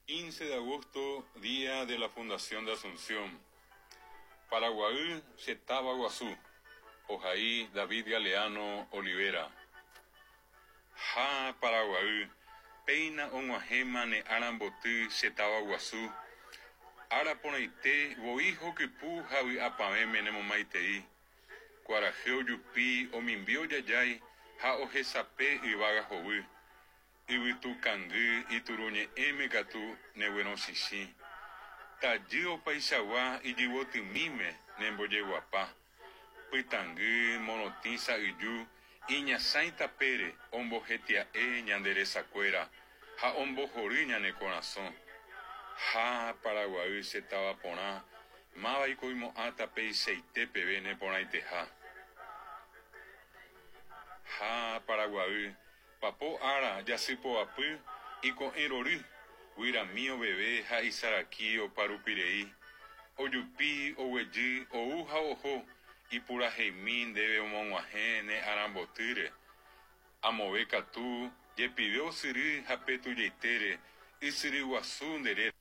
15 de agosto, día de la fundación de Asunción. Paraguaý che táva guasu, ohai David Galeano Olivera. Ha, Paraguaý, péina og̃uahẽma ne ára mboty che táva guasu, ára porãite voi hokypu ha vy'apavẽme nemomaitei. Kuarahy ojupi omimbi ojajái ha ohesape yvága hovy. Yvytu kangy ituruñe'ẽme katu neguerosĩsĩ. Tajy opaichagua ijyvotymíme nembojeguapa. Pytãngy morotĩ sa'yju iñasãi tapére ombohetia'e ñande resakuéra ha ombohory ñane korasõ. Ha, Paraguaý che táva porã, mávaiko oimo'ãta peichaite peve neporãiteha. Ha, Paraguaý, papo ára jasypoapy iko'ẽ rory, guyrami oveve ha isaraki oparupirei. Ojupi, oguejy, ou ha oho, ipuraheimi ndéve omog̃uahẽ ne arambotýre. Amove katu, jepive osyry ha pe tujaitére, ysyry guasu nde réra.